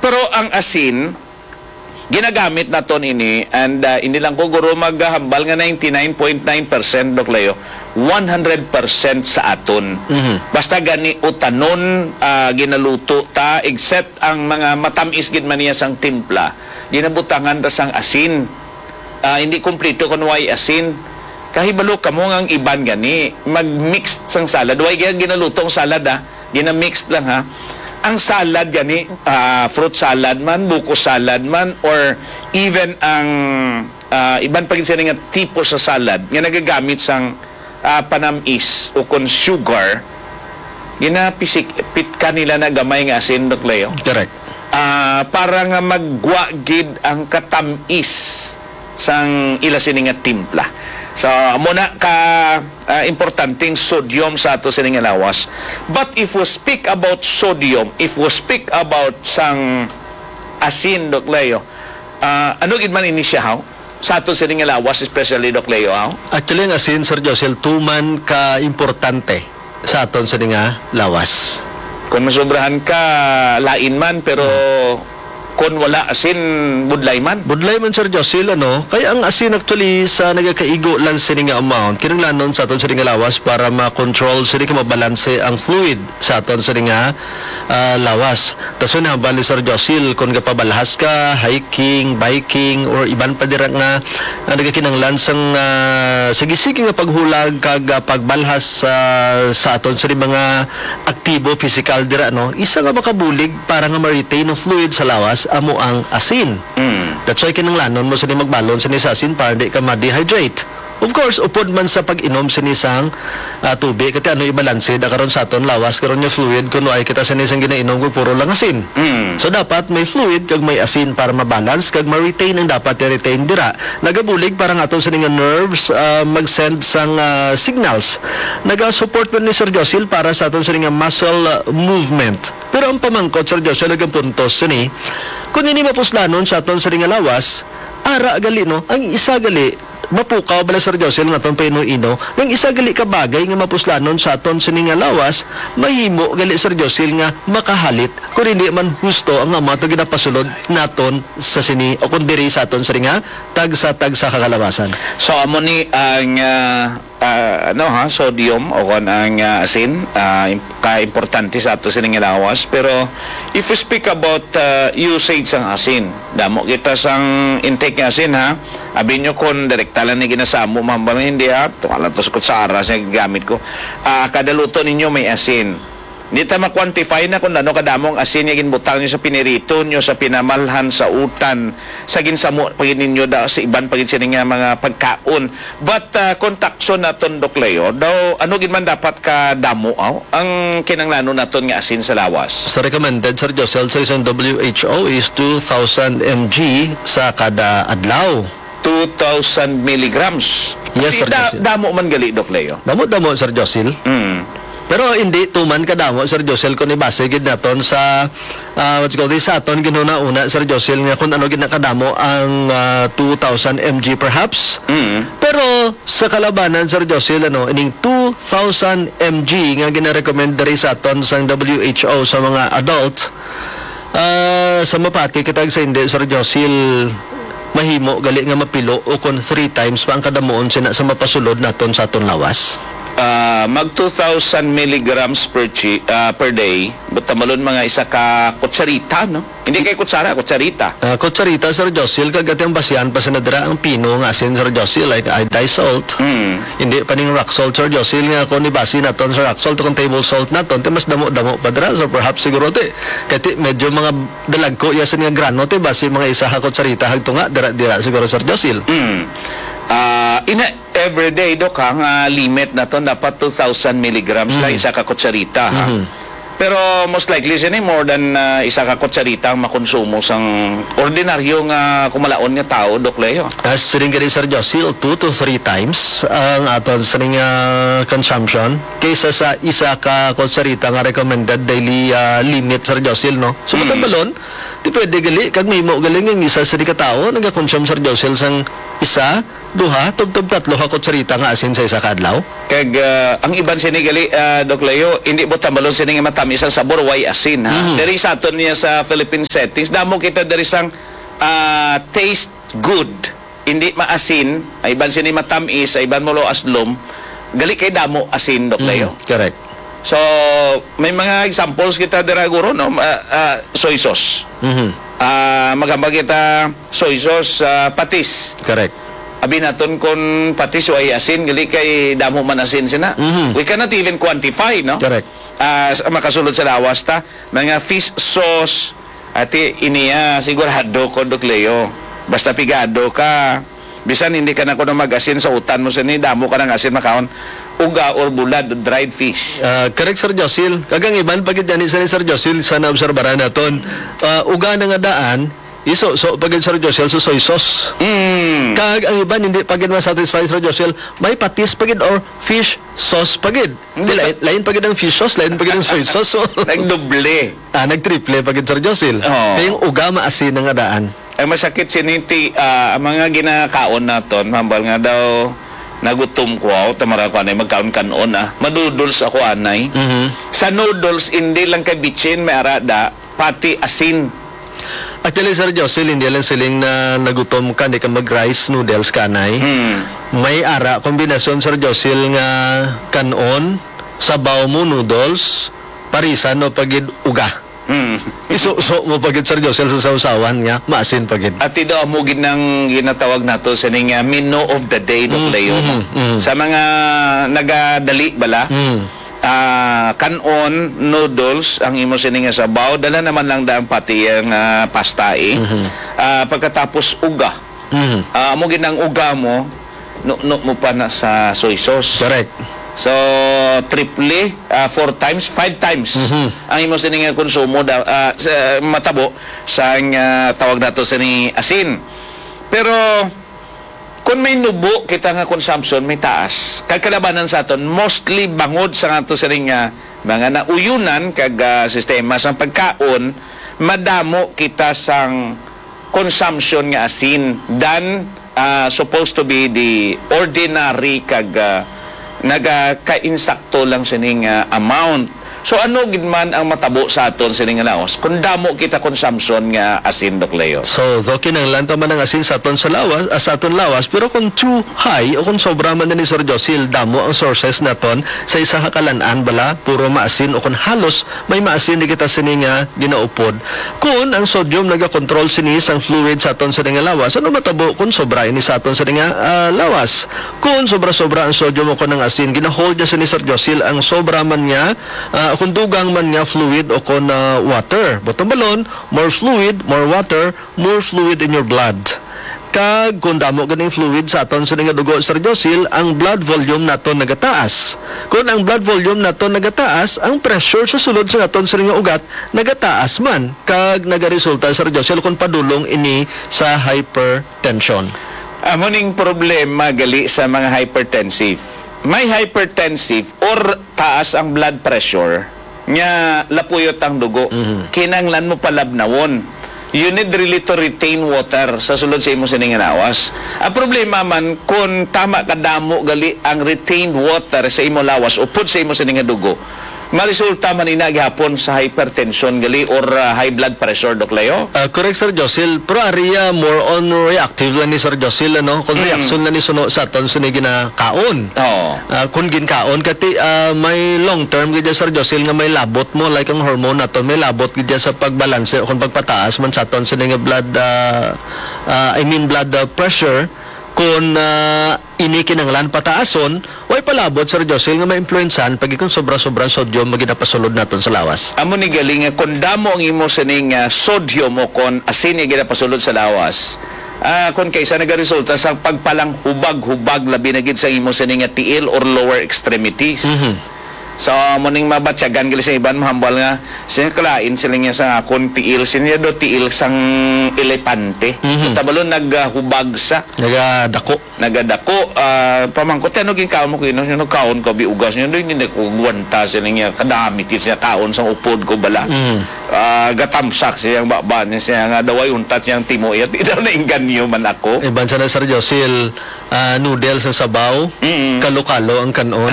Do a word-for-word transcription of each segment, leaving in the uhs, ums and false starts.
Pero ang asin, ginagamit naton ini, and, ah, hindi lang ko, guro, maghambal nga ninety-nine point nine percent, Doc Leo, one hundred percent sa aton. Mhm. Basta gani utanon, ah, ginaluto ta, except ang mga matamis gid man niya sang timpla, ginabutangan ta sang asin. Ah, hindi kumpleto kung way asin. Kahibalo kamo nga ang iban gani mag-mix sang salad. Way gina-, ginaluto ang salad, ah. Gina-mix lang, ha. Ang salad gani, ah, fruit salad man, buko salad man, or even ang, ah, iban pa gid sini nga tipo sa salad nga nagagamit sang, ah, panamis o kon sugar, ginapisik-, pitka nila na gamay nga asin, Doc Leo. Correct. Ah, para nga maggwa gid ang katamis sang ila sini nga timpla. So, amo na ka, ah, importanteng sodium sa ato sini nga lawas. But if we speak about sodium, if we speak about sang asin, Doc Leo, ah, ano gid man ini siya, haw? Sa ato sini nga lawas, especially, Doc Leo, haw? Actually, ang asin, Sir Josel, tuman ka importante sa aton sini nga lawas. Kung masobrahan ka, lain man, pero kung wala asin, budlay man. Budlay man, Sir Josil, ano? Kaya ang asin actually sa nagakaigo lang sini nga amount, kinahanglanon sa aton sini nga lawas para ma-control sini ka mabalanse ang fluid sa aton sini nga, ah, lawas. Dason hambal ni Sir Josil, kung gapabalhas ka, hiking, biking, or iban pa dira nga, nga nagakinahanglan sang, ah, sige-sige nga paghulag kag, ah, pagbalhas sa, sa aton sini mga aktibo pisikal dira, no? Isa nga makabulig para nga ma-retain ang fluid sa lawas amo ang asin. Mm. That's why kinahanglanon mo sini magbalon sini sa asin para di ka ma-dehydrate. Of course, upod man sa pag-inom sini sang, ah, tubig, kay ano ibalanse da karon sa aton lawas karon nga fluid kung ay kita sini sang ginainom kung puro lang asin. Mm. So, dapat may fluid kag may asin para ma-balance kag ma-retain ang dapat i-retain dira. Nagabulig para nga aton sini nga nerves, ah, mag-send sang, ah, signals. Naga-support man ni Sir Josil para sa aton sini nga muscle, ah, movement. Pero ang pamangkot, Sir Josil, nagapuntos sini, kung ini mapuslanon sa aton sini nga lawas, ara gali, no? Ang isa gali, mapukaw bala, Sir Josil, nga aton paino-ino, ang isa gali ka bagay nga mapuslanon sa aton sini nga lawas, mahimo gali, Sir Josil, nga makahalit, kung hindi man husto ang amo ato ginapasulod naton sa sini, o kung diri sa aton sini nga tagsa-tagsa ka kalawasan. So, amo ni ang, ah, ah, ano ha, sodium o kon ang, ah, asin, ah, im-, ka-importante sa ato sining lawas. Pero if we speak about, ah, usage sang asin, damo kita sang intake nga asin, ha. Abi nyo kon direkta lang ni ginasamo, ma'am, ba, hindi, ha. Tunga lang to sa kutsara sa gamit ko. Ah, kada luto ninyo may asin. Di ta ma-quantify na kung ano kadamo ang asin nga ginbutang nyo sa pinirito nyo, sa pinamalhan, sa utan, sa ginsamo pa gid ninyo da, sa iban pa gid sini nga mga pagkaon. But, ah, kung takson naton, Doc Leo, daw, ano gid man dapat ka damo, aw, ang kinanglanon naton nga asin sa lawas? Sa recommended, Sir Josel, sa isang W H O is two thousand M G sa kada adlaw. Two thousand milligrams. Yes, Sir Josel. Damo man gali, Doc Leo. Damo-damo, Sir Josel. Mm. Pero hindi tuman kadamo, Sir Josel, kung ibase gid naton sa, ah, what you call this, sa aton ginhuna-una, Sir Josel, nga kung ano gid na kadamo ang, ah, two thousand M G perhaps. Mm. Pero sa kalabanan, Sir Josel, ano, ining two thousand M G nga ginarecommend diri sa aton sang W H O sa mga adult, Ah, sa mapati kita sa hindi, Sir Josil, mahimo gali nga mapilo o kon three times pa ang kadamuon sina sa mapasulod naton sa aton lawas? Ah, mag two thousand milligrams per chi-, ah, per day, but tamalon mga isa ka kutsarita, no? Hindi kay kutsara, kutsarita. Ah, kutsarita, Sir Josil, kag ati ang basihan pa sa nadira ang pino nga asin, Sir Josil, like iodized salt. Mm. Hindi pa ning rock salt, Sir Josil, nga kung ibasi naton sa rock salt, kung table salt naton, ti mas damo-damo pa dira. So perhaps siguro ti, kay ti medyo mga dalagko iya sini nga grano, ti basi mga isa ka kutsarita hagtunga, dira-dira siguro, Sir Josil. Mm. Ah, ina, everyday, Dok, ha, nga limit naton dapat two thousand milligrams lang Mm. isa ka kutsarita, ha. Mhm. Pero most likely sini more than, ah, isa ka kutsarita ang makonsumo sang ordinaryo nga kumalaon nga tawo, Doc Leo. As siring gani, Sir Josil, two to three times ang aton sining, ah, consumption kaysa sa isa ka kutsarita nga recommended daily, ah, limit, Sir Josil, no? So, Mm. matambalon, di pwede gali, kag mahimo gali nga ang isa sa di ka tawo nagakonsume, Sir Josil, sang isa duha, tubtob tatlo ka kutsarita nga asin sa isa ka adlaw. Kag, ah, ang iban sini gali, ah, Doc Leo, hindi mo tambalon sini nga matamis ang sabor, way asin, ha? Mhm. Diri sa aton niya sa Philippine settings, damo kita diri sang, ah, taste good. Hindi maasin, ang iban sini matamis, ang iban mo lo aslom. Gali kay damo asin, Doc Leo. Mhm, correct. So, may mga examples kita dira, guro, no? Ah, ah, soy sauce. Mhm. Ah, maghambal kita, soy sauce, ah, patis. Correct. Abi naton kon patis way asin, gali kay damo man asin sina. Mhm. We cannot even quantify, no? Correct. Ah, sa makasulod sa lawas ta, mga fish sauce, ati, ini, ah, sigurado ko, Doc Leo. Basta pigado ka, bisan hindi ka na kuno mag-asin sa utan mo sini, damo ka nang asin makaon, uga or bulad, dried fish. Ah, correct, Sir Josil. Kag ang iban pa gid gani, Sir, Sir Josil, sa naobserbaran naton, ah, uga na nga daan, iso-so pa gid, Sir Josil, sa soy sauce. Mm. Kag ang iban hindi pa gid ma-satisfy, Sir Josil, may patis pa gid or fish sauce pa gid. Hindi. Di, lain, lain pa gid ang fish sauce, lain pa gid ang soy sauce. Nagdoble. Ah, nagtriple pa gid, Sir Josil. Oo. Kay ang uga maasin na nga daan. Ay, masakit sini ti, ah, ang mga ginakaon naton, hambal nga daw nagutom ko, aw, tamara ko anay magkaon kanon, ah. Madoodles ako anay. Mhm. Sa noodles, hindi lang kay bitsin may ara da, pati asin. Actually, Sir Josil, hindi lang siling na nagutom ka, hindi ka mag-rice noodles ka anay. Hmm. May ara kombinasyon, Sir Josil, nga kanon, sabaw mo noodles, parisan mo pa gid uga. Hmm. Iso-so mo pa gid, Sir Josil, sa sawsawan nga maasin pa gid. Ati daw amo gid nang ginatawag nato sining, ah, menu of the day, Doc Mm, Leo, no? Mm, mm. Sa mga nagadali bala, Mm. ah, kanon, noodles, ang imo sini nga sabaw, dala naman lang daan pati ang, ah, pasta, eh. Mhm. Ah, pagkatapos uga. Mhm. Ah, amo gid ang uga mo, nuknok mo pa na sa soy sauce. Correct. So, triple, ah, four times, five times Mhm. ang imo sini nga konsumo da, ah, sa, matabo sa, ah, tawag nato sini asin. Pero kung may nubo kita nga consumption, may taas. Kag kalabanan sa aton, mostly bangod sa ato sining, ah, mga nauyunan kag, ah, sistema sang pagkaon, madamo kita sang consumption nga asin than, ah, supposed to be the ordinary kag, ah, nagakainsakto lang sining, ah, amount. So, ano gid man ang matabo sa aton sining lawas kung damo kita consumption nga asin, Doc Leo? So, though kinahanglan ta man ang asin sa aton sa lawas, ah, sa aton lawas, pero kung too high o kung sobra man ni, Sir Josil, damo ang sources naton sa isa ka kalan-an bala, puro maasin o kung halos may maasin di kita sini nga ginaupod. Kun ang sodium nagakontrol sini sang fluid sa aton sini nga lawas, ano matabo kun sobra ini sa aton sini nga, ah, lawas? Kun sobra-sobra ang sodium o kun ang asin, ginahold niya sini, Sir Josil, ang sobra man nga, ah, kun dugang man nga fluid o kun, ah, water. Butang balon, more fluid, more water, more fluid in your blood. Kag kun damo ganing fluid sa aton sini nga dugo, Sir Josil, ang blood volume naton nagataas. Kun ang blood volume naton nagataas, ang pressure sa sulod sa aton sini nga ugat nagataas man, kag nagaresulta, Sir Josil, kun padulong ini sa hypertension. Amo ning problema gali sa mga hypertensive. May hypertensive or taas ang blood pressure, nga lapuyot ang dugo. Mhm. Kinahanglan mo palabnawon. You need really to retain water sa sulod sa imo sini nga lawas. Ang problema man, kung tama kadamo gali ang retained water sa imo lawas upod sa imo sini nga dugo, maresulta man ina gihapon sa hypertension gali or, ah, high blood pressure, Doc Leo? Ah, correct, Sir Josil. Pero area more on reactive lang ni Sir Josil, ano? Kung Mm. reaksyon lang ni suno sa aton sini ginakaon. Oo. Ah, kung ginkaon, kati, ah, may long term gid, Sir Josil, nga may labot mo, like ang hormone naton, may labot gid sa pagbalanse o kung pagpataas man sa aton sini nga blood, ah, ah, I mean blood, ah, pressure, kung, ah, ini kinahanglan pataason, way palabot, Sir Josil, nga maimpluwensyahan pag ikon sobra-sobra ang sodium nga ginapasulod naton sa lawas. Amo ni gali nga kung damo ang imo sining, ah, sodium o kon asin nga ginapasulod sa lawas, ah, kon kaysa nagaresulta sa pagpalanghubag-hubag, labi na gid sa imo sining nga tiil or lower extremities. Mhm. So, amo ning mabatyagan gali sa iban, mahambal nga, siya kalain sila niya sa akon tiil, siya niya do tiil sang elepante. Mhm. Tabalo naghubag sa Nagadako. Nagadako, ah, pamangkot, "Ano ginkaon mo, Kuya?" Siya, "Nagkaon ko, biugas." Niya, "Hindi, hindi ko gwanta," siya niya, "kadami, siya kaon sang upod ko bala." Mm. Ah, gatamsak siya ang baba niya, siya nga daw ay untat siyang timo, iya, di daw nainganyo man ako. Iban sa na, Sir Josil, ah, noodles sa sabaw, Mm. kalo-kalo ang kanon.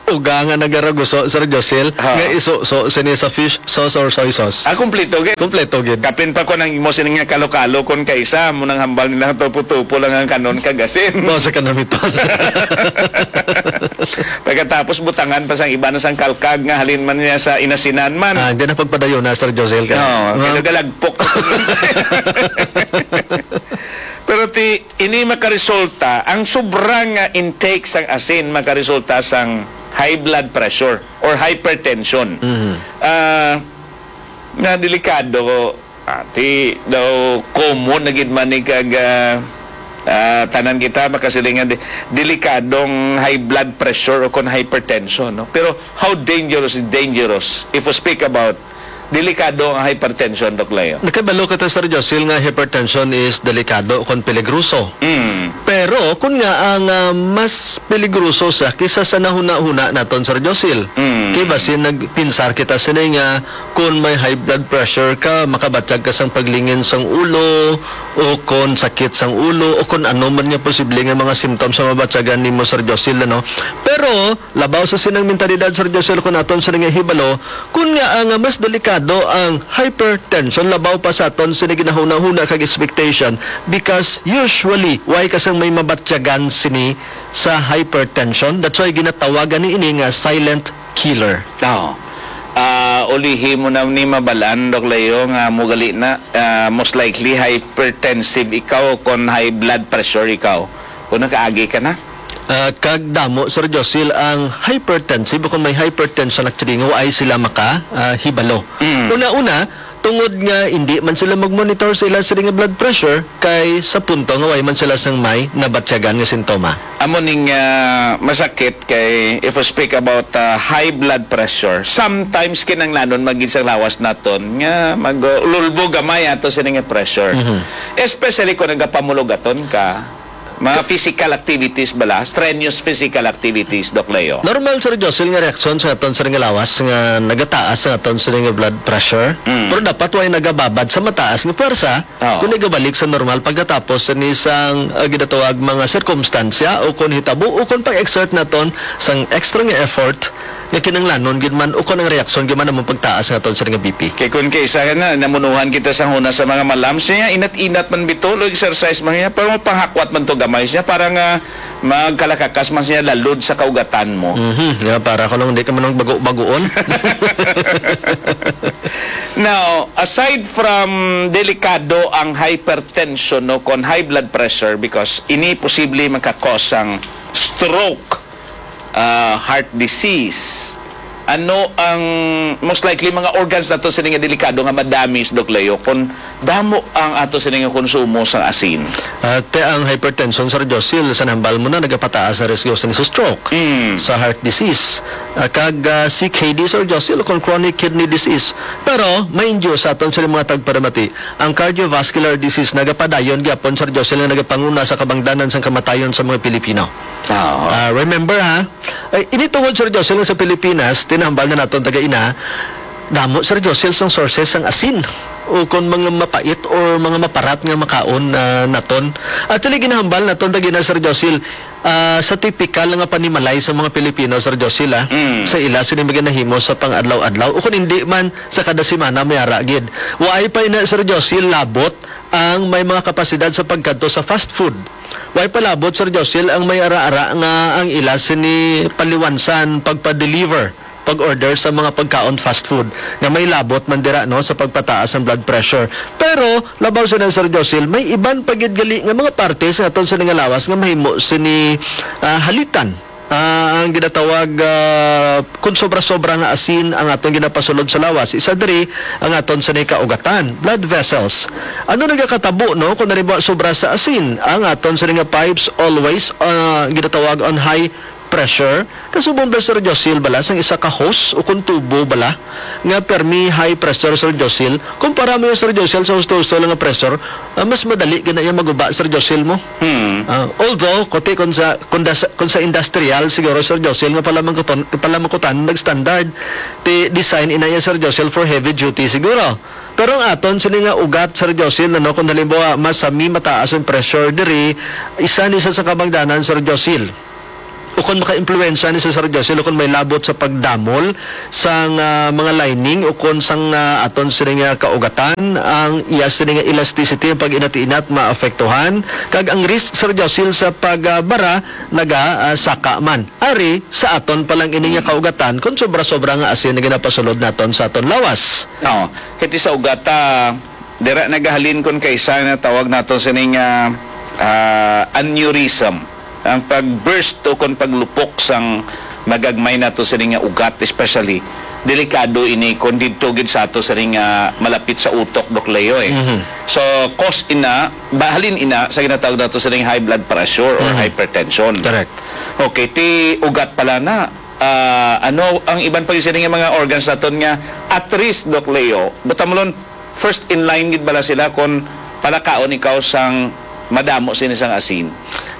Uga nga nagaraguso, Sir Josil, Ha. nga isuso sini sa fish sauce or soy sauce. Ah, kompleto gid. Kompleto gid. Kapin pa ko nang imo sini nga kalo-kalo kon kaisa mo nang hambal nila tupo-tupo lang ang kanon kag asin. Mao sa kanamiton. Pagkatapos butangan pa sang iba na sang kalkag nga halin man niya sa inasinan man. Ah, di na pagpadayon na, Sir Josil, ka. Oo, Ah. kaya galagpok. Pero ti, ini makaresulta, ang sobra nga intake sang asin makaresulta sang high blood pressure or hypertension. Mhm. Ah, nga delikado, ah, ti daw common na gid man ni kag, ah, ah, tanan kita makasiling nga di-, delikadong high blood pressure o kon hypertension, no? Pero how dangerous is dangerous if we speak about delikado ang hypertension, Doc Leo? Nakabalo kita, Sir Josil, nga hypertension is delikado kon peligroso. Mm. Pero kun nga ang, ah, mas peligroso siya kaysa sa nahuna-huna naton, Sir Josil. Mm. Kay basin nagpinsar kita sini nga kun may high blood pressure ka, makabatyag ka sang paglingin sang ulo, o kon sakit sang ulo, o kon ano man nga posible nga mga symptoms nga mabatyagan nimo, Sir Josil, ano? Pero labaw sa sinang mentalidad, Sir Josil, kun aton sini nga hibalo, kun nga ang mas delikado ang hypertension, labaw pa sa aton sini ginahuna-huna kag expectation, because usually, way ka sang may mabatyagan sini sa hypertension. That's why ginatawagan ni ini nga silent killer. Oo. Ah, ulihi mo na ni mabalaan, Doc Leo, nga mo gali na, ah, most likely hypertensive ikaw kon high blood pressure ikaw. Kung nakaagi ka na. Ah, kag damo, Sir Josil, ang hypertensive, kung may hypertension actually, nga waay sila maka, ah, hibalo. Mm. Una-una, tungod nga hindi man sila mag-monitor sa ila sila nga blood pressure, kay sa punto nga way man sila sang may nabatyagan nga sintoma. Amo ning, ah, masakit kay if we speak about, ah, high blood pressure, sometimes kinahanglanon man gid sang lawas naton nga mag-ululbo gamay ato sini nga pressure. Mhm. Especially kung nagapamulogaton ka, mga physical activities bala, strenuous physical activities, Doc Leo. Normal, Sir Josil, nga reaksyon sa aton sini nga lawas nga nagataas ang aton sini nga blood pressure. Mm. Pero dapat way nagababad sa mataas nga puwersa Oo. kung nagabalik sa normal pagkatapos ni sang, ah, ginatawag mga sirkumstansya o kon hitabo o kon pag-exert naton sang extra nga effort nga kinahanglanon gid man o kon ang reaksyon gid man among pagtaas nga aton sini nga B P. Kay kun kaisa na, namunuhan kita sa huna sa mga malam, siya inat-inat man bitaw, lo exercise man niya, pero mapanghakwat man to gamay siya, para nga magkalakakas man siya lalod sa kaugatan mo. Mhm. Yeah, para ko lang di ka man ang bago-bagoon. Now, aside from delikado ang hypertension, no, kon high blood pressure, because ini posible maka-cause ang stroke, ah, heart disease. Ano ang most likely mga organs nato sini nga delikado nga ma-damage, Doc Leo, kung damo ang ato sini nga konsumo sang asin? Ah, te, ang hypertension, Sir Josil, sa nahambal mo na, nagapataas sa risgo sa stroke, Mm. sa heart disease, ah, kag, ah, C K D, Sir Josil, kung chronic kidney disease. Pero may induce sa aton sa mga tagparamati, ang cardiovascular disease nagapadayon gyapon, Sir Josil, nga nagapanguna sa kabangdanan sang kamatayon sa mga Pilipino. Ah, remember, ha? Ay, ini tungod, Sir Josil, nga sa Pilipinas, tinambal na naton taga ina, damo, Sir Josil, sang sources sang asin o kon mga mapait or mga maparat nga makaon, ah, naton. Actually, ginahambal naton taga ina, Sir Josil, ah, sa tipikal nga panimalay sa mga Pilipino, Sir Josil, ah, Mm. sa ila sini mga nahimo sa pang-adlaw-adlaw o kon hindi man sa kada semana may ara gid. Waay pa ina, Sir Josil, labot ang may mga kapasidad sa pagkadto sa fast food. Way palabot, Sir Josil, ang may ara-ara nga ang ila sini paliwansan pagpa-deliver, pag-order sa mga pagkaon fast food nga may labot man dira, no, sa pagpataas ang blood pressure. Pero labaw sa na, Sir Josil, may iban pa gid gali nga mga parte sa aton sini nga lawas nga mahimo sini, ah, halitan. Ah, ang ginatawag, ah, kung sobra-sobra nga asin ang aton ginapasulod sa lawas, isa diri ang aton sini kaugatan, blood vessels. Ano nagakatabo, no, kung halimbawa sobra sa asin ang aton sini nga pipes always, ah, ginatawag on high pressure, kasubong bala, Sir Josil, bala sang isa ka hose o kon tubo bala nga permi high pressure, Sir Josil. Kumpara mo yan, Sir Josil, sa husto-husto lang nga pressure, ah, mas madali gina iya maguba, Sir Josil, mo. Hmm. Ah, although, kuti kung sa, kung das-, kung sa industrial, siguro, Sir Josil, nga palamangkuton-, palamangkutan, nag-standard, ti design ina iya, Sir Josil, for heavy duty, siguro. Pero ang aton sini nga ugat, Sir Josil, ano, kung halimbawa, masami, mataas ang pressure diri, isa ni sa, sa kabangdanan, Sir Josil. Ukon makaimpluwensya ni, Sir Josil, ukon may labot sa pagdamol sang, ah, mga lining ukon sang, ah, aton sini nga kaugatan, ang iya sini nga elasticity, ang pag-inat-inat maapektuhan, kag ang risk, Sir Josil, sa pagbara naga, ah, saka man. Ari, sa aton pa lang ini nga kaugatan, kung sobra-sobra nga asin nga ginapasulod naton sa aton lawas. No, kiti sa ugata, dira nagahalin kon kaisa na tawag nato sining, ah, ah, aneurysm. Ang pag-burst o kon paglupok sang magagmay nato sining nga ugat, especially, delikado ini kon didto gid sa ato sining, ah, malapit sa utok, Doc Leo, eh. Mhm. So, cause ina, bahalin ina sa ginatawag nato sining high blood pressure or Mhm. hypertension. Correct. Okay, ti ugat pala na. Ah, ano ang iban pa gid sini nga mga organs naton nga at risk, Doc Leo? Butamulon, first in line gid bala sila kon palakaon ikaw sang madamo sini sang asin?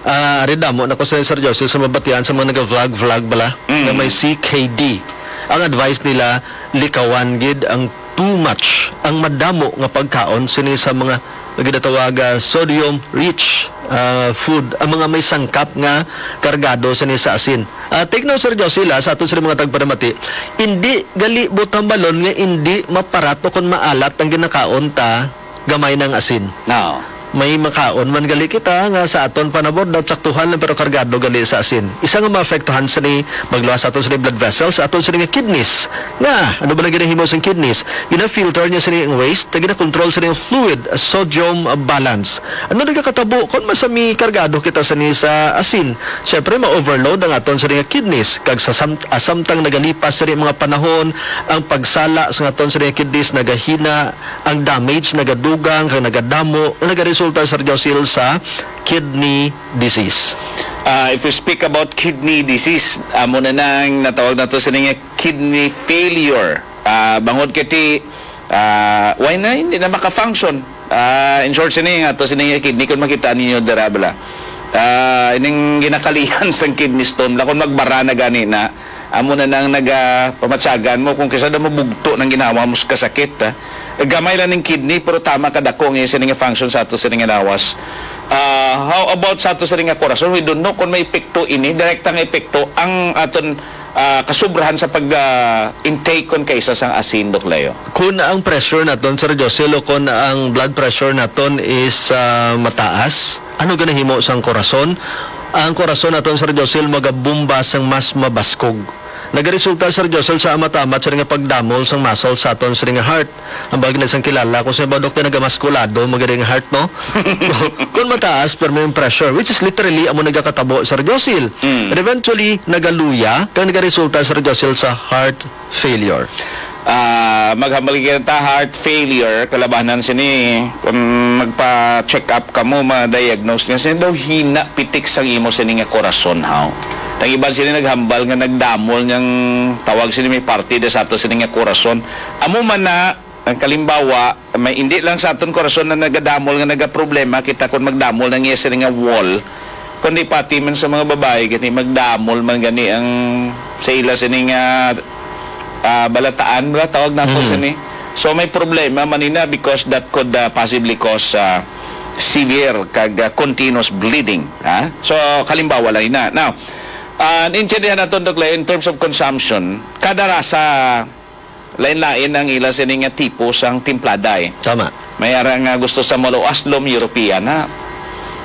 Ah, ari damo na ko sa, Sir Joseph, sa mabatian sa mga naga-vlog-vlog bala Mm. nga may C K D. Ang advice nila, likawan gid ang too much, ang madamo nga pagkaon sini sa mga nga ginatawag, ah, sodium rich, ah, food, ang mga may sangkap nga kargado sini sa asin. Ah, take note, Sir Josila, sa aton sini mga tagpanamati, indi gali butambalon nga indi maparat o kon maalat ang ginakaon ta, gamay nang asin. Oo. May makaon man gali kita nga sa aton panabor daw saktuhan lang pero kargado gali sa asin. Isa nga maapektuhan sini magluwas sa aton sini blood vessels, sa aton sini nga kidneys. Nga, ano ba nang ginahimo sang kidneys? Gina-filter niya sini ang waste, kag gina-control sini ang fluid, uh, sodium, uh, balance. Ano nagakatabo kon masami kargado kita sini sa asin? Siyempre, ma-overload ang aton sini nga kidneys, kag sa sam-, ah, samtang nagalipas sini mga panahon, ang pagsala sa aton sini nga kidneys nagahina, ang damage nagadugang kag nagadamo, nga nagaresulta, Sir Josil, sa kidney disease. Ah, if we speak about kidney disease, amo na nang natawag nato sini nga kidney failure. Ah, bangod kay ti, ah, why na hindi na maka-function? Ah, in short, sini nga to, sini nga kidney, kung makita ninyo dira, bala. Ah, ining ginakalihan sang kidney stone, la, kung magbara na gani na, amo na nang nagapamatyagan mo kung kisa daw mabugto nang ginawa mo sa kasakit, ha? Gamay lang ning kidney, pero tama kadako nga sini nga function sa ato sini nga lawas. Ah, how about sa ato sini nga korason? We don't know kung may epekto ini, direkta nga epekto ang aton, ah, kasubrahan sa pag, ah, intake kon kaisa sang asin, Doc Leo. Kun ang pressure naton, Sir Josel, o kun ang blood pressure naton is, ah, mataas, ano ginahimo sang korason? Ang korason naton, Sir Josel, magabomba sang mas mabaskog. Nagaresulta, Sir Josel, sa amat-amat sini nga pagdamol sang muscle sa aton sini nga heart. Ang bagay na sang kilala, kung sa iba, doktor, nagamaskulado, magaling heart, no? Kung mataas, pero may pressure, which is literally amo nagakatabo, Sir Josil. Mm. And eventually, nagaluya, kag nagaresulta, Sir Josil, sa heart failure. Ah, maghambal kita, heart failure, kalabanan sini, kung magpa-check up ka mo, ma-diagnose nga sini daw hina pitik sang imo sini nga korason, haw. Ang iban sini naghambal nga nagdamol niyang tawag sini may parte da sa ato sini nga korason. Amo man na, ang kalimbawa, may, hindi lang sa aton korason na nagadamol nga nagaproblema kita kung magdamol na niya sini nga wall, kundi pati man sa mga babae, gani magdamol man gani ang sa ila sini nga, ah, balataan, bala tawag nato Mhm. sini. So may problema man ina because that could, ah, possibly cause, ah, severe kag, ah, continuous bleeding, ha? So kalimbawa lang ina. Now, ah, naintindihan naton, Doc Leo, in terms of consumption, kada rasa lain-lain ang ila sini nga tipo sang timplada, eh. Tama. May ara nga gusto sa maluaslom, European, ha?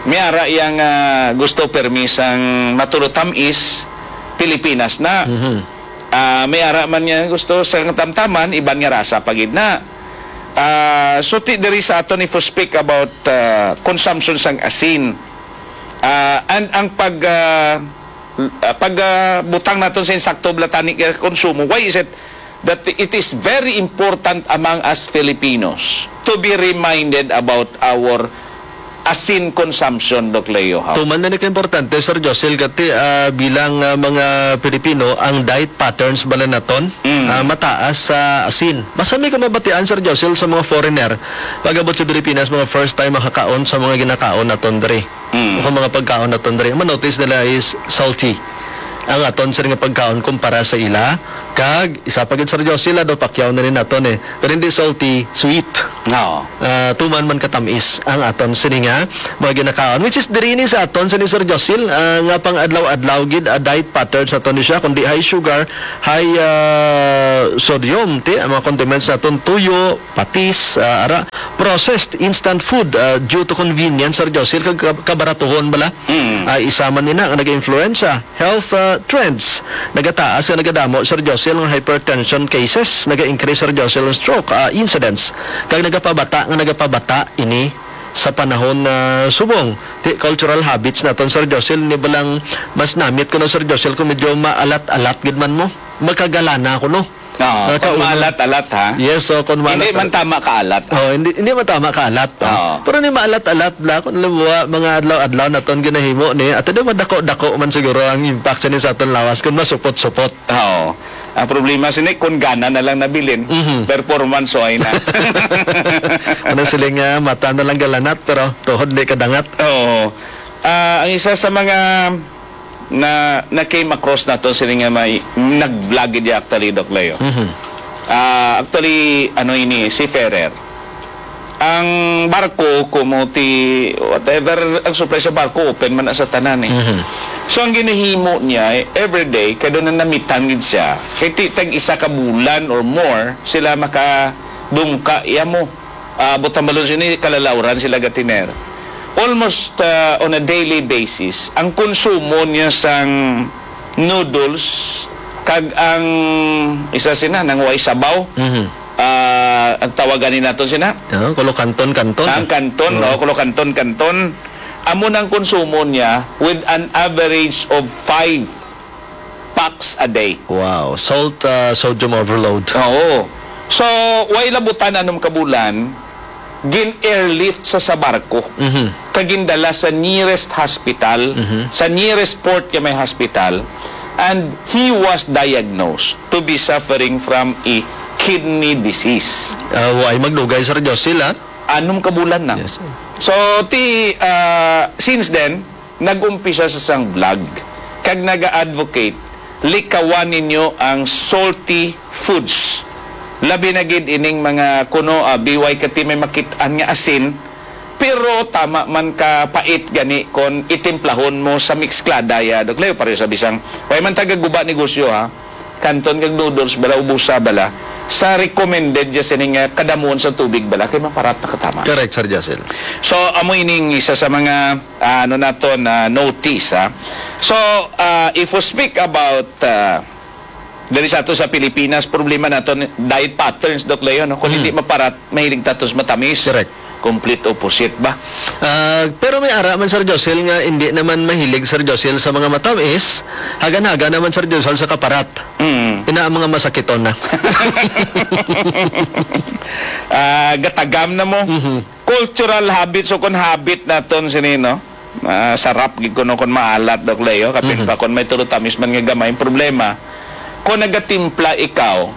May ara yang, ah, gusto permi sang matulotamis, Pilipinas na. Mhm. Ah, may ara man nga gusto sa tamtaman, iban nga rasa pa gid na. Ah, so ti diri sa aton, if we speak about, ah, consumption sang asin, ah, and ang pag, ah, ah, pag, ah, butang naton sa insakto bala tani nga konsumo, why is it that it is very important among us Filipinos to be reminded about our asin consumption, Doc Leo, ha? Tuman na ni ka importante, Sir Josil, gati, ah, bilang, ah, mga Pilipino, ang diet patterns bala naton, Mm. ah, mataas sa asin. Basta may kamabatian, Sir Josil, sa mga foreigner, pag-abot sa Pilipinas, mga first time makakaon sa mga ginakaon naton diri. Mm. O kung mga pagkaon naton diri, ma-notice nila is salty ang aton sini nga pagkaon kumpara sa ila. Kag isa pa gid, Sir Josil, ah, daw pakyaw na ni naton eh. Pero hindi salty, sweet. Oo. Ah, tuman man katamis ang aton sini nga mga ginakaon, which is diri ni sa aton sini, Sir Josil, ah, nga pang adlaw-adlaw gid, ah, diet patterns naton ni siya, kundi high sugar, high, ah, sodium, ti, ang mga condiments naton, tuyo, patis, ah, ara, processed instant food, ah, due to convenience, Sir Josil, kag kab-, kabaratuhon bala. Mm. Ah, isa man ina nga nag-influensya health, ah, trends. Nagataas nga nagadamo, Sir Josil, nga hypertension cases, naga-increase, Sir Josil, ang stroke, ah, incidence, kag nagapabata nga nagapabata ini sa panahon na subong. Ti, cultural habits naton, Sir Josil, ni balang mas namit ko no, Sir Josil, kung medyo maalat-alat gid man mo, makagalana ko no. Oo, ah, kung kauna. Maalat-alat, ha? Yes, so kung maalat-alat. Hindi man tama kaalat. Oh, hindi, hindi man tama kaalat, oh. Oo. Pero ni maalat-alat la, kung alam mo, ah, mga adlaw-adlaw naton ginahimo ni, ato daw madako-dako man siguro ang impact sa ni sa aton lawas kung masupot-supot. Oo. Ang problema sini, kung gana na lang nabilin, Mhm. performance, o ay na. Ano sila nga, mata na lang galanat, pero tuhod di kadangat. Oo. Ah, ang isa sa mga na, na came across nato sini nga may nag-vlog gid actually, Doc Leo. Mhm. Ah, actually, ano ini, seafarer. Ang barko, kumuti, whatever, ang supply sa barko, open man na sa tanan eh. Mhm. So, ang ginahimo niya, eh, everyday, kada na namitan gid siya, kay ti-, tag isa ka bulan or more, sila makadungka iya mo. Ah, butang balon sini, kalalawran sila gatiner. Almost, ah, on a daily basis, ang konsumo niya sang noodles, kag ang isa sina, nang way sabaw, Mhm. ah, ang tawagan ni naton sina? Ah, kulo kanton, kanton. Ang kanton, Oo. no? Kulo kanton, kanton. Amo nang konsumo niya with an average of five packs a day. Wow. Salt, ah, sodium overload. Oo. So, way labutan anom ka bulan, gin-airlift sa, sa barko. Mhm. Kag gindala sa nearest hospital, Mhm. sa nearest port nga may hospital, and he was diagnosed to be suffering from a kidney disease. Ah, way magdugay, Sir Josil, ah. Anom ka bulan na. Yes, sir. So, ti, ah, since then, nag-umpisa sa sang vlog kag naga-advocate, likawan ninyo ang salty foods. Labi na gid ining mga kuno, ah, B Y K T may makit-an nga asin, pero tama man ka pait gani kon itimplahon mo sa mixklada ya, Doc Leo, pareho sa bisang, way man taga guba negosyo, ha? Kanton kag noodles bala, ubusa bala, sa recommended ya sini nga kadamuon sa tubig bala, kay maparat na katama. Correct, Sir Josil. So, amo ining isa sa mga, ah, ano naton, ah, notice, ha. So, ah, if we speak about, ah, diri sa ato sa Pilipinas, problema naton diet patterns, Doc Leo, no? Kung Mm. hindi maparat, mahilig tatos matamis. Correct. Complete opposite ba? Ah, pero may ara man, Sir Josil, nga hindi naman mahilig, Sir Josil, sa mga matamis. Hagan-hagan naman, Sir Josil, sa kaparat. Mm. Ina ang mga masakiton na. Ah, gatagam na mo. Mhm. Cultural habits o kon habit naton sini, no? Ah, sarap gid kuno kon maalat, Doc Leo. Kapin Mhm. pa kon may tulo tamis man nga gamay. Ang problema, kon nagatimpla ikaw,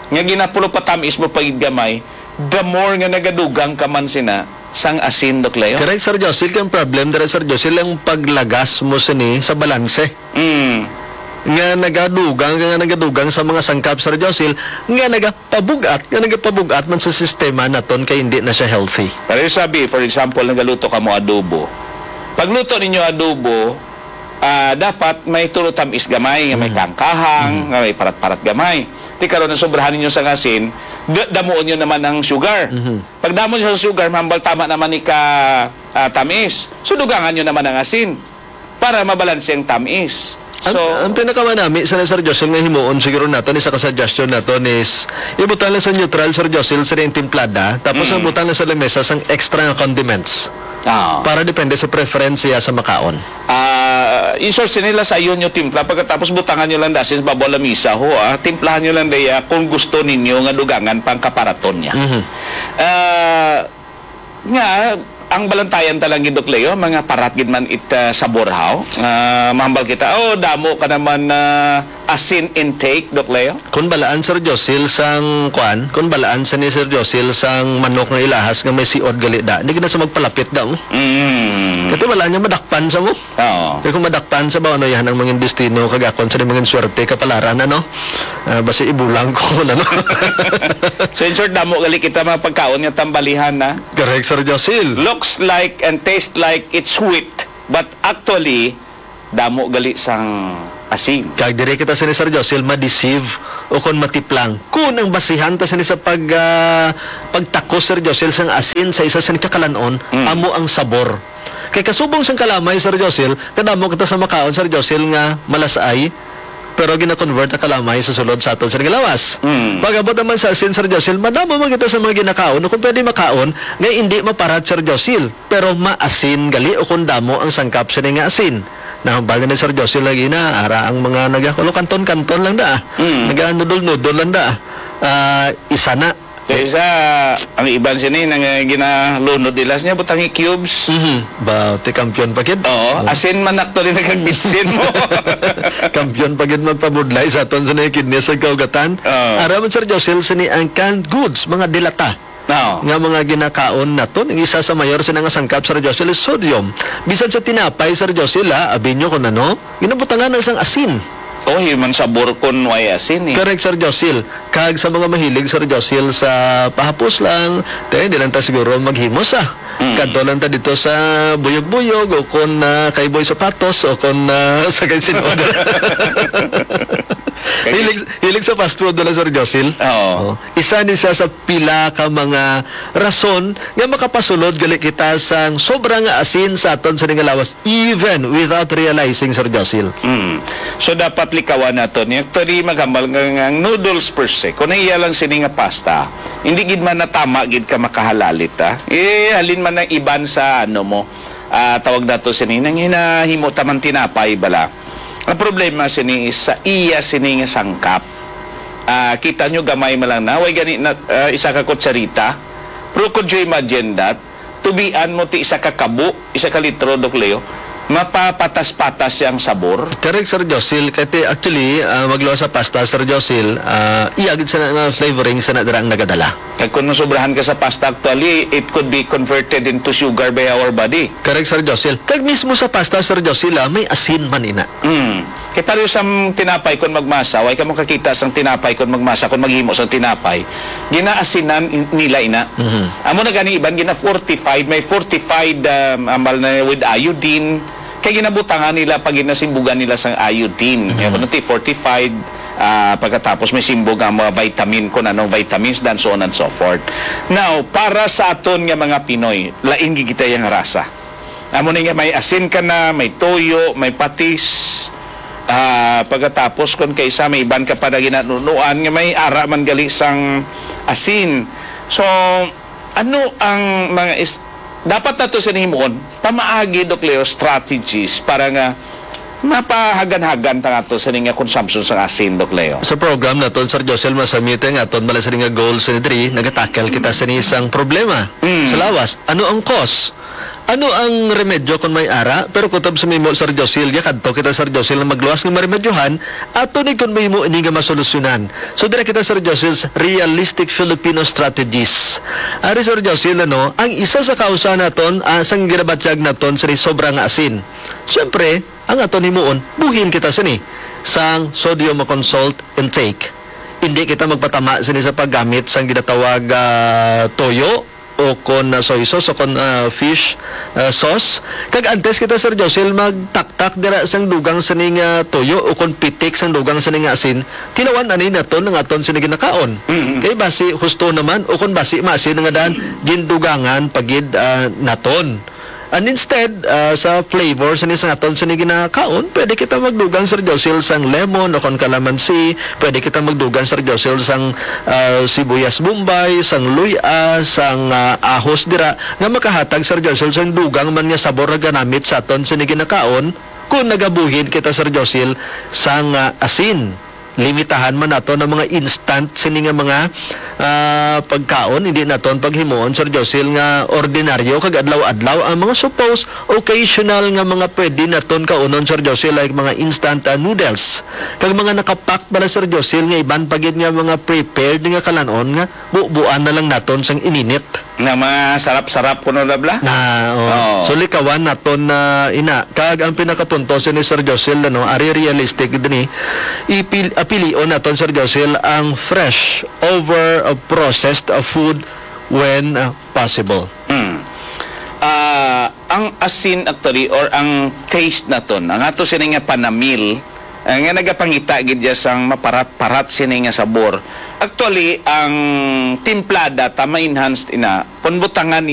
nga ginapulo pa tamis mo pa gid gamay, the more nga nagadugang ka man sina sang asin, Doc Leo. Correct, Sir Josil. Kay ang problem dira, Sir Josil, ang paglagas mo sini sa balanse. Mm. Nga nagadugang, nga nagadugang sa mga sangkap, Sir Josil, nga nagapabug-at, nga nagapabug-at man sa sistema naton kay hindi na siya healthy. Pero yung sabi, for example, nagaluto ka mo adobo. Pagluto ninyo adobo, ah, dapat may tulo tamis gamay, nga may Mm. kangkahang, Mm. nga may parat-parat gamay. Ti karon, nasobrahan ninyo sa asin, da-, damuon nyo naman ang sugar. Mhm. Pag damo nyo sa sugar, mahambal tama naman ni ka, ah, tamis. So, dugangan nyo naman ang asin para mabalanse ang tamis. Ang, So, ang pinakamanami sa, Sir Josel, nga himuon siguro naton, isa ka suggestion naton is ibutang lang sa neutral, Sir Josel, sa iyang timplada, tapos ang Mm. butang lang sa lamesa sang extra nga condiments. Ah. Para depende sa preference siya sa makaon. Ah, in short, sini lasayon nyo timpla, pagkatapos butangan nyo lang dasin sa babaw lamisa ho, ah. Timplahan nyo lang diya kung gusto ninyo nga dugangan pang kaparaton niya. Mhm. Ah, nga, ang balantayan ta lang gid, Doc Leo, mga parat gid man it, ah, sabor, haw. Ah, mahambal kita, "Oh, damo ka naman, ah, asin intake, Doc Leo." Kun balaan, Sir Josil, sang kuan, kun balaan sa ni Sir Josil sang manok nga ilahas nga may siod gali da, hindi gid na sa magpalapit da mo. Mm. Kati balaan niya madakpan sa mo. Oo. Kaya kung madakpan sa ba, ano yan ang mga destino, kagakon sa mga swerte, kapalaran, ano? Ah, basi ibulang ko, ano? So, in short, damo gali kita mga pagkaon nga tambalihan, na? Correct, Sir Josil. Looks like and taste like it's sweet, but actually, damo gali sang asin. Kag diri kita sini, Sir Josil, ma-deceive o kon matiplang. Kun ang basihan ta sini sa pag, ah, pagtakos, Sir Josil, sang asin sa isa sini kakalan-on, Mm. amo ang sabor. Kay kasubong sang kalamay, Sir Josil, kadamo kita sa makaon, Sir Josil, nga malasay, pero gina-convert ang kalamay sa sulod sa aton sa lawas. Mm. Pag-abot naman sa asin, Sir Josil, madamo man kita sa mga ginakaon o kung pwede makaon nga hindi maparat, Sir Josil, pero maasin gali o kung damo ang sangkap sini nga asin. Nahambal na ni Sir Josil lagi na, ara ang mga nagakulo, kanton-kanton lang da. Mm. Naga-nudol-nudol lang da. Ah, isa na. Kaysa ang iban sini nang, eh, ginalunod nila niya butangi cubes. Mhm. Ba, ti kampiyon pa gid? Oo, Oh. asin man actually nagkagbitsin mo. Kampiyon pa gid magpabudlay sa aton sa mga kidney sa kaugatan. Oo. Ara man, Sir Josil, sini ang canned goods, mga dilata Oo. nga mga ginakaon naton. Ang isa sa mayor sina nga sangkap, Sir Josil, is sodium. Bisan sa tinapay, Sir Josil, ha, abi nyo kung ano, ginabutangan na sang asin. Oh, human sabor kun way asin, eh. Correct, Sir Josil. Kag sa mga mahilig, Sir Josil, sa pahapos lang, te, di lang ta siguro maghimo sa. Mm. Kadto lang ta dito sa buyog-buyog o kon, ah, kay Boy Sapatos o kon, ah, sa kay Sinod. Kay Hilig, hilig sa fast food wala, Sir Josil? Oo. Oh. Isa ni siya sa pila ka mga rason nga makapasulod gali kita sang sobra nga asin sa aton sini nga lawas, even without realizing, Sir Josil. Mm. So, dapat likawan nato ni. Actually, maghambal nga, nga ang noodles per se, kung iya lang sini nga pasta, hindi gid man natama gid ka makahalalit, ah. Eh, halin man ang iban sa, ano mo, ah, tawag nato sini, nang hinahimo taman tinapay bala. Ang problema sini is sa iya sini nga sangkap. Ah, kita nyo, gamay man lang na. Way gani na, ah, isa ka kutsarita. Pero could you imagine that? Tubian mo ti isa ka kabo, isa ka litro, Doc Leo, mapapatas-patas siya ang sabor. Correct, Sir Josil. Kay ti, actually, ah, magluwas sa pasta, Sir Josil, ah, iya gid sa nga flavoring sa na dira ang nagadala. Kag kung masobrahan ka sa pasta, actually, it could be converted into sugar by our body. Correct, Sir Josil. Kag mismo sa pasta, Sir Josil, ah, may asin man ina. Mm. Kay pareho sa tinapay kon magmasa, way ka makakita sang tinapay kon magmasa, kon maghimo sang tinapay, ginaasinan in-, nila ina. Mhm. Amo na gani iban gina-fortified, may fortified, um, ambal na with iodine. Kay ginabutangan nila pag ginasimbugan nila sang iodine. Mhm. Kaya kuno ti fortified, ah, pagkatapos may simbog ang mga vitamin, kung anong vitamins, dan so on and so forth. Now, para sa aton nga mga Pinoy, lain gid kita yang rasa. Amo ni nga may asin ka na, may toyo, may patis, ah, pagkatapos kon kaysa may iban ka pa na ginanunuan nga may ara man gali sang asin. So, ano ang mga is-, dapat nato sa himuon? Pamaagi, Doc Leo, strategies para nga mapahagan-hagan ta nga to sa nga consumption sang asin, Doc Leo. Sa program naton, Sir Josel, masamite nga aton bala sa nga goal sa diri, nagatackle kita sa isang problema Mm. sa lawas. Ano ang cause? Ano ang remedyo kung may ara? Pero kutob sa mimo, Sir Josil, ya kadto kita, Sir Josil, nga magluwas nga maremedyohan, ato ni kun mimo ini nga masolusyonan. So, dira kita, Sir Josil, sa realistic Filipino strategies. Ari, Sir Josil, ano, ang isa sa kausa naton, ah, sang ginabatyag naton sa sobra nga asin. Siyempre, ang aton himuon, buhin kita sini sang sodium consult intake. Hindi kita magpatama sini sa paggamit sang ginatawag, ah, toyo, o kon, ah, soy sauce, o kon, ah, fish, ah, sauce. Kag antes kita, Sir Josel, magtaktak dira sang dugang sini nga toyo o kon pitik sang dugang sini nga asin, tilawan ani naton ang aton sini ginakaon. Mm-hmm. Kay basi husto naman o kon basi maasin nga daan, gindugangan pa gid, ah, naton. And instead, ah, sa flavor sini sa aton sini ginakaon, pwede kita magdugang, Sir Josel, sang lemon o kon calamansi, pwede kita magdugang, Sir Josel, sang ah, sibuyas Bombay, sang luy-a, sang, ah, ahos dira, nga makahatag, Sir Josil, sang dugang man nga sabor nga ganamit sa aton sini ginakaon, kung nagabuhin kita, Sir Josil, sang, ah, asin. limitahan man naton ang mga instant sini nga mga, ah, pagkaon, hindi naton paghimuon, Sir Josil, nga ordinaryo kag adlaw-adlaw. Ang mga suppose occasional nga mga pwede naton kaunon, Sir Josil, like mga instant, ah, noodles, kag mga nakapack bala, Sir Josil, nga iban pa gid nga mga prepared nga kalan-on nga bubuan na lang naton sang ininit. Nga mga sarap-sarap kuno na bala. Na, oh. Oo. So, likawan naton na ina. Kag ang pinakapunto sini, Sir Josil, ano, ari realistic dini, ipil-, apilion naton, Sir Josil, ang fresh over, uh, processed, uh, food when, uh, possible. Mm. Ah, ang asin actually or ang taste naton, ang ato sini nga panamil, ah, nga nagapangita gid ya sang maparat-parat sini nga sabor. Actually, ang timplada ta ma-enhanced ina, kon butangan